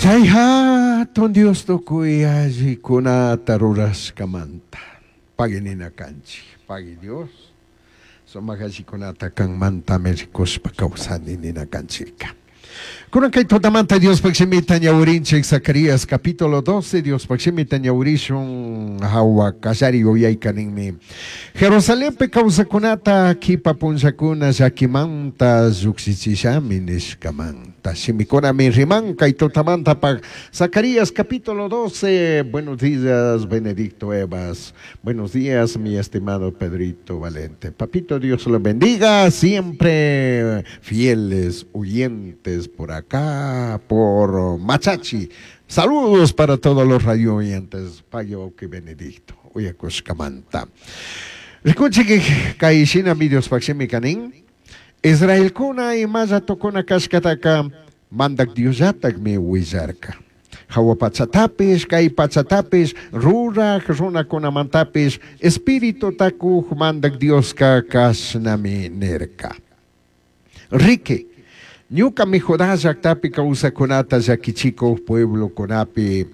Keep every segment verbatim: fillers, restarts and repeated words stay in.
Chay hatun Dios tukuy allikunata rurashkamanta. Pagui nina kanchik. Pagui Dios. Sumak allikunata kanmantami rikushpa kawsani nina kanchika. Kunan kay tutamanta Diospaj shimita ñawirinchik Zacarías capítulo doce Diospaj shimita ñawirishun hawa kallari yuyayka ninmi. Jerusalenpi kawsakunata kipa punllakuna llakimanta llukshichishami nishkamanta. Shimikunami riman kay tutamantapaj Zacarías capítulo doce. Buenos días, Benedicto Evas. Buenos días, mi estimado Pedrito Valente. Papito, Dios lo bendiga. Siempre fieles oyentes por acá, por Machachi. Saludos para todos los radio oyentes. Payo que Benedicto. Uyakushkamanta. Rikuchik kay shinami Diospaj shimi kanin. Israelkuna imalla tukuna kashkataka mandak Diosllatakmi willarka. Hawa pachatapish, kay pachatapish, ruraj runakunamantapish, espíritu takuj mandak Dioska kashnami nirka. Riki, ñukami Judá llaktapi kawsakunata llakichikuj pueblokunapi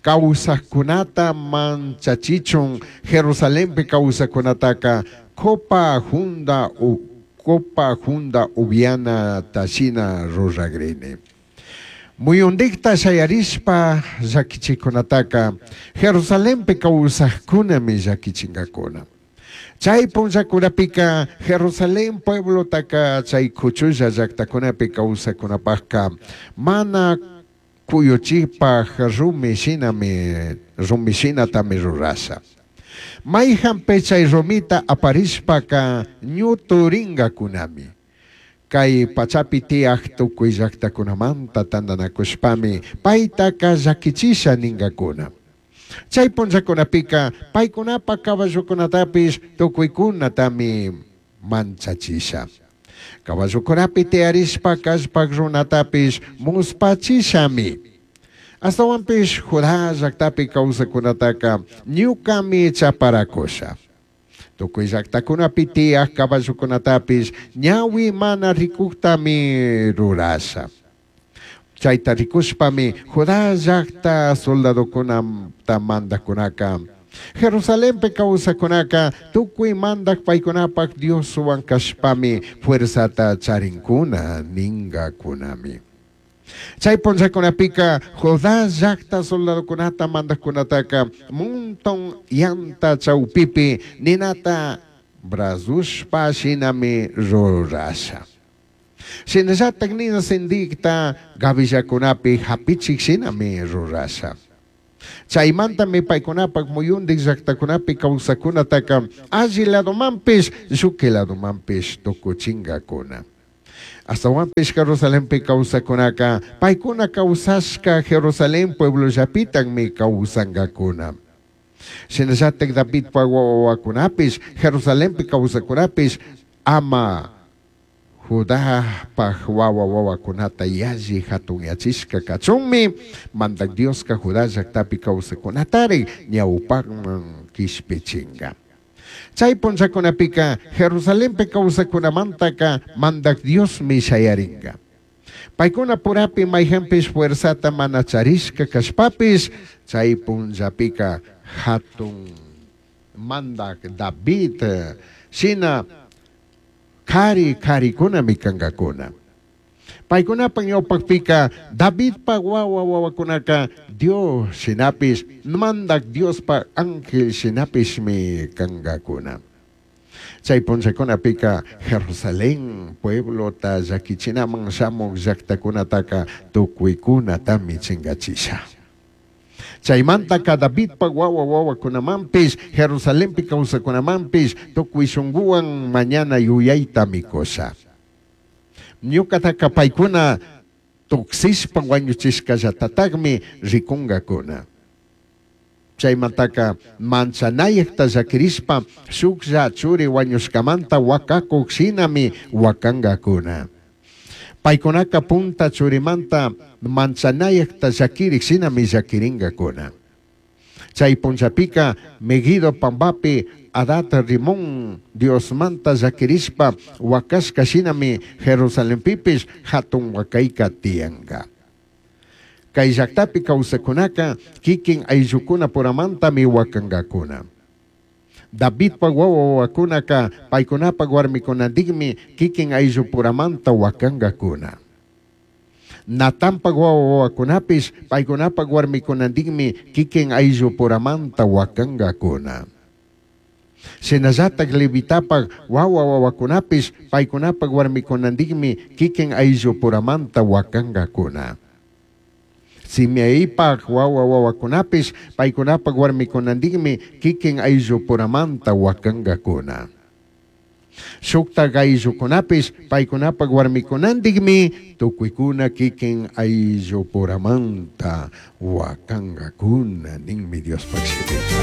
kawsajkunata manchachichun Jerusalenpi kawsakunataka copa junda u, copa junda ubiana tashina ruragrini. Muyundikta shayarishpa llakichikunataka Jerusalenpi kawsajkunami llakichinkakuna. Chay punllakunapika Jerusalén pueblotaka chay kuchulla llaktakunapi kawsakunapajka mana kuyuchipaj rumi shinami rumi shinatami rurasha. Mayhanpi chay rumita aparishpaka ñuturinkakunami. Kay pachapi tiyaj tukuy llaktakunamanta tantanakushpami paytaka llakichisha ninkakuna. Chay punllakunapika paykunapa caballokunatapish tukuykunatami manchachisha. Caballokunapi tiyarishpa kallpak runatapish muspachishami. Astawanpish Judá llaktapi kawsakunataka ñukami chaparakusha. Tukuy llaktakunapi tiyaj caballokunatapish ñawi mana rikuktami rurasha. Chayta rikushpami Judá llakta soldadokunata mandakunaka Jerusalenpi kawsakunaka tukuy mandak paykunapak Dioswan kashpami fuerzata charinkuna ninkakunami. Chay punllakunapika Judá llakta soldadokunata mandakunataka monton yanta chawpipi ninata brazushpa shinami rurasha. Shinallatak nina sindikta gavillakunapi hapichik shinami rurasha. Chaymantami paykunapak muyundik llaktakunapi kawsakunataka alli ladomanpish lluqui ladomanpish tukuchinkakuna. Astawanpish Jerusalenpi kawsakunaka paykuna kawsashka Jerusalén pueblollapitakmi kawsankakuna. Shinallatak Davidpa wawakunapish Jerusalenpi kawsakunapish ama Judapaj wawa wawakunata yalli hatunyachishka kachunmi mandak Dioska Judá llaktapi kawsakunatari ñawpakman kishpichinka. Chay punllakunapika Jerusalenpi kawsakunamantaka mandak Diosmi shayarinka. Paykuna purapi mayhanpish fuerzata mana charishka kashpapish chay punllapika hatun mandak David shina kari karikunami kankakuna. Paykunapa ñawpakpika Davidpa wawa wawakunaka Dios shinapish mandak Diospa ángel shinapishmi kankakuna. Chay punllakunapika Jerusalén pueblota llakichinaman shamuk llaktakunataka tukuykunatami chinkachisha. Chaymantaka Davidpa wawa wawakunamanpish Jerusalenpi kawsakunamanpish tukuy shunkuwan mañana yuyaytami kusha. Ñukataka paykuna tuksishpa wañuchishkallatataqmi rikunkakuna. Chaymantaka manchanayakta llakirishpa shuklla churi wañushkamanta wakakuk shinami wakankakuna. Paykunaka punta churimanta manchanayakta llakirik shinami llakirinkakuna. Chay punllapika Megido pambapi Adat Rimón Diosmanta llakirishpa wakashka shinami Jerusalenpipish hatun wakayka tiyanka. Cai llajtapi causajcunaca quiquin aillucunapuramantami huacangacuna. Davidpaj huahua huahuacunaca paicunapaj huarmicunandijmi quiquin aillupuramanta huacangacuna. Natanpaj huahua huahuacunapish paicunapaj huarmicunandijmi quiquin aillupuramanta huacangacuna. Shinallataj Levitapaj huahua huahuacunapish paicunapaj huarmicunandijmi quiquin aillupuramanta huacangacuna. Simeipaj huahua huahuacunapish paicunapaj huarmicunandijmi quiquin aillupuramanta huacangacuna. Shujtaj aillucunapish paicunapaj huarmicunandijmi tucuicuna quiquin aillupuramanta huacangacuna ninmi Diospaj shimica.